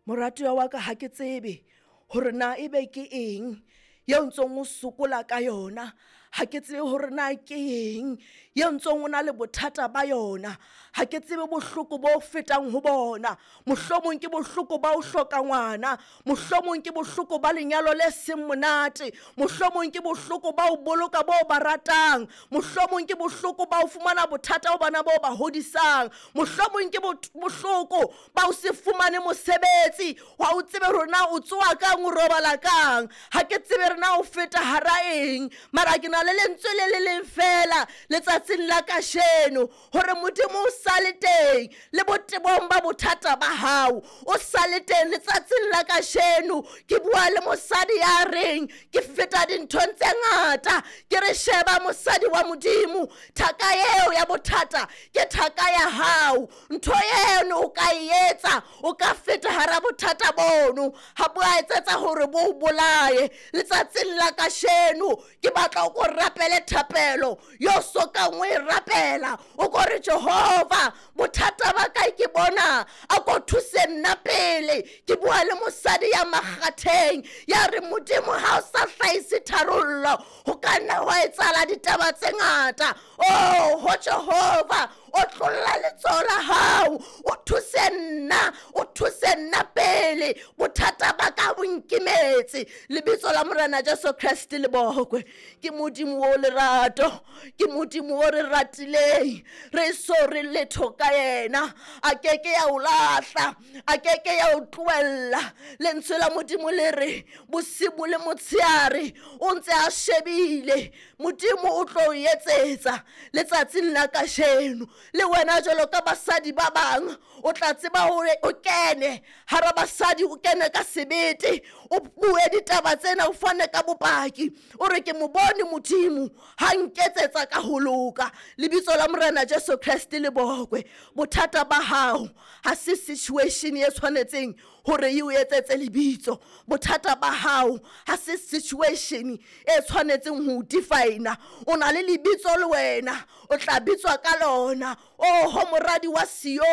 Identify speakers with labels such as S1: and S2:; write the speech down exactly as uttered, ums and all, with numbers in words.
S1: Moratuwa wa ka, ha ke tsebe hore na ebe ke eng eo ntsong o sokola ka yona. Ha ke tsebe hore na ke eng eo ntsong o na le bothata ba yona. Ha ke tsebe bohloko bo fetang ho bona. Mohlomong ke bohloko ba ho hloka ngwana, mohlomong ke bohloko ba lenyalo le seng monate, mohlomong ke bohloko ba ho boloka bo ba ratang, mohlomong ke bohloko ba ho fumana bothata ho bana bo ba hodisang, mohlomong ke bohloko ba ho se fumane mosebetsi, ha o tsebe hore na o tsoha kang o robala kang. Ha ke tsebe re na o feta hara eng, mara ke na le lentswe le le leng feela letsatsing la kasheno, hore Modimo o sale teng le botebong ba bothata ba hao, o sale teng letsatsing la kasheno. Ke bua le mosadi ya reng ke feta dinthong tse ngata, ke re sheba mosadi wa Modimo, thaka eo ya bothata ke thaka ya hao. Ntho eno o ka e etsa, o ka feta hara bothata bono, ha bo a etsetsa hore bo o bolaye. Letsatsing la kasheno ke batla o ko rapele thapelo yo sokang o e rapela, o ko re Jehova bothata ba ka ke bona, a ko thuse nna pele. Ke bua le mosadi ya makgatheng ya re Modimo ha o sa hlahise tharollo, ho ka nna hwa etsahala ditaba tse ngata. Oh ho Jehova, o tlolla letsoho la hao, o thuse nna, o thuse nna pele. Bothata ba ka bo nkimetse. Lebitso la Morena Jesu Kreste le bokwe. Ke Modimo o lerato, ke Modimo o re ratileng, re so re letho ka yena. A keke ya o lahla, a keke ya o tlohella. Lentswe la Modimo le re bosibu le motshehare o ntse a shebile, Modimo o tlo o etsetsa letsatsing la kasheno. Le wena jwalo ka basadi ba bang, o tla tseba hore o kene hara basadi, o kene ka sebete, o bue ditaba tsena, o fane ka bopaki, o re ke mo bone Modimo ha nketsetsa ka ho loka. Lebitso la Morena Jesu Kreste le bokwe. Bothata ba hao ha se situation e tshwanetseng hore e o etsetse lebitso. Bothata ba hao ha se situation e tshwanetseng ho o define. O na le lebitso le wena, o tla bitswa ka lona. Oho moradi wa Sione.